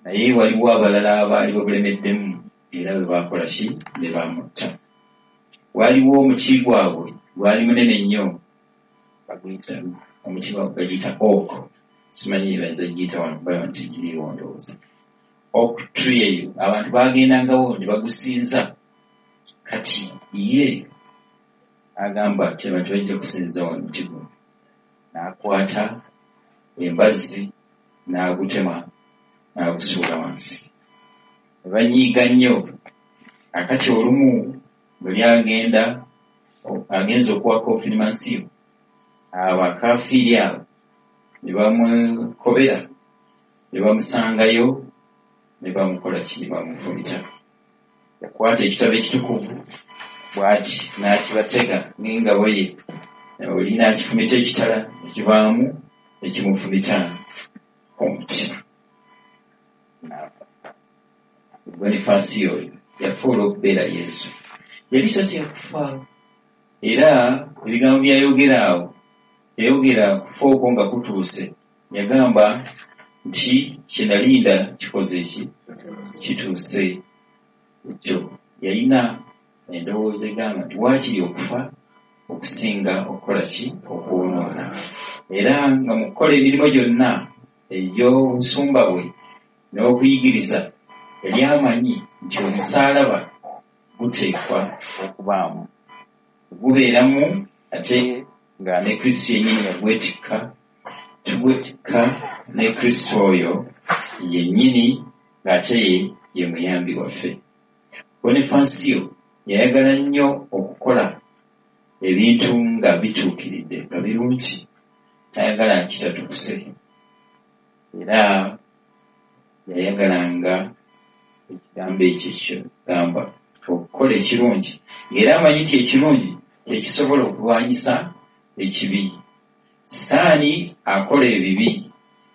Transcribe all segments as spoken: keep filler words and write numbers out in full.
Naye waliwo abalala abaali babulemeddemu, era bwe baakola ki? Ne bamutta. Waliwo omuti gwabwe gwali munene nnyo, baguyita omuti bagiyita oak, simanyi bayinza giyita wano kuba nti giriiwo, ndowooza oak tree eyo abantu bagendangawo ne bagusinza. Kati ye agamba nti abantu bajja kusinza wano muti guno, n'akwata embazzi n'agutema n'agusuula wansi, ne banyiiga nnyo. Akati olumu bwe lyagenda agenze okuwa konfirmansiyo, abo akafiiri abo ne bamukobera, ne bamusangayo, ne bamukola ki? Ne bamufumita. Yakwata ekitabo ekitukuvu bw'ati n'akibatega n'engabo ye, oli n'akifumita ekitala nekivaamu, ekimufumita omutima n'afa. Bonifaasiyo oyo yafa olw'okubeera Yesu. Yali tatya kufa, era ebigambo byayogera awo, yayogera kufa okwo nga kutuuse, yagamba nti kye nalinda kikoze eki? Kituuse. Ekyo yalina endowooza egamba nti waakiri okufa okusinga okukola ki? Okwonoona. Era nga mu kukola emirimu gyonna egy'obusumba bwe n'okuyigiriza, yali amanyi nti omusaalaba guteekwa okubaamu, gubeeramu, ate nga ne Kristo yennyini yagwetikka, tugwetikka ne Kristo oyo yennyini, ng'ate ye ye muyambi waffe. Bonifansiyo yayagala nnyo okukola ebintu nga bituukiridde, nga birungi, tayagala kitatuuse. Era yayagalanga ekigambo ekyo kyogamba okukola ekirungi, ng'era amanyi nti ekirungi kyekisobola okulwanyisa ekibi. Sitaani akola ebibi,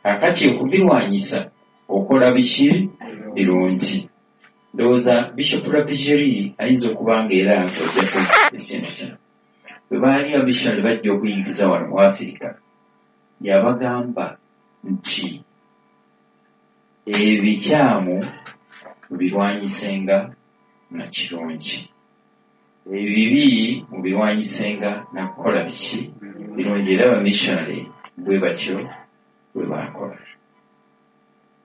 kakati okubirwanyisa okola biki? Birungi. Ndowooza Bishop Lavigerie ayinza okuba nga era ojjako ekintu kino. Bwe baali abamissionary bajja okuyingiza wano mu Afirika, yabagamba nti ebikyamu mubirwanyisenga na kirungi, ebibi mubirwanyisenga nakukola biki? Birungi. Era abamissionary bwe batyo bwe bakola.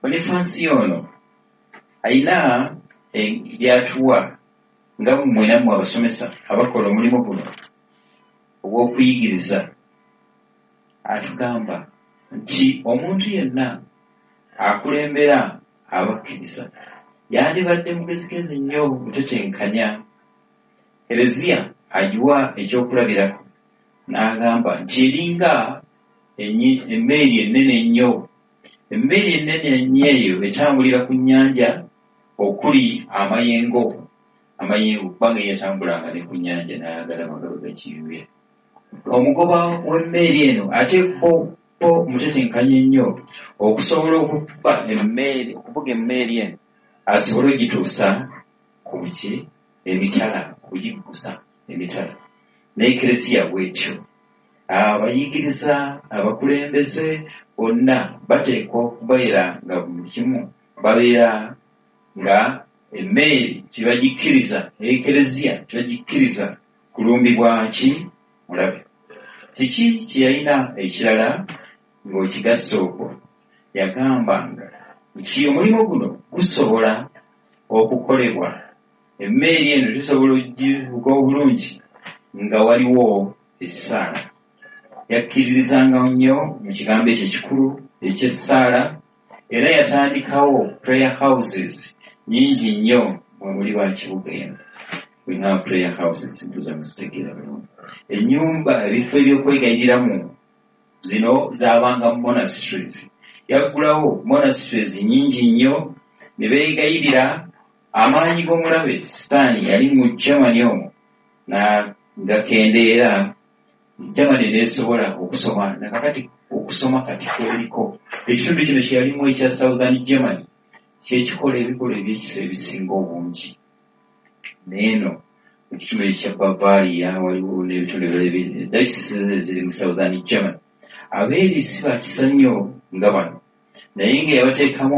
Bonifansiyo ono ayina byatuwa nga mmwe nammwe abasomesa abakola omulimu guno ogw'okuyigiriza. Atugamba nti omuntu yenna akulembera abakkiriza yandibadde mugezigezi nnyo, mutetenkanya. Ereziya agiwa ekyokulabirako n'agamba nti eringa emmeeri ennene ennyo. Emmeeri ennene ennyo eyo etambulira ku nnyanja okuli amayengo, amayengo, kubanga yatambulanga ne ku nnyanja n'agalaba nga bwe gakiyuya. Omugoba w'emmeeri eno ateekwa omutetenkanya ennyo okusobola okukuba emmeeri, okuvuga emmeeri eno asobole ogituusa ku buki? Emitala, okugiggusa emitala. N'ekereziya bwetyo, abayigiriza, abakulembeze bonna bateekwa okubeera nga buli kimu babeera nga emmeeri tebagikkiriza, ekereziya tebagikkiriza kulumbibwa ki? Mulabe. Kiki kye yalina ekirala ng'okigassa okwo? Yagambanga nti omulimu guno gusobola okukolebwa, emmeeri eno tusobola ogivuga obulungi nga waliwo essaala. Yakkiririzanga nnyo mu kigambo ekyo ekikulu eky'essaala, era yatandikawo prayer houses nyingi nnyo. Mwe muli ba kibuga eno, bwe prayer houses ntuza muzitegeera bulungi, ennyumba, ebifo ebyokwegayiriramu, zino zaabanga monasteries. Yaggulawo monasteries nyingi nnyo ne beegayirira. Amaanyi g'omulabe Sitaani yali mu Germany omwo gakendeera, Germany neesobola okusoma. Nakakati okusoma kati kweriko ekitundu kino kyeyalimu ekya Southern Germany kyekikola ebikolwa ebyekisa ebisinga obungi. Neeno ekitundu ekya Bavaria, waliwo n'ebitundu ebirala, dioceses eziri mu Southern Germany, abeeri si bakisa nnyo nga bano, naye nga yabateekamu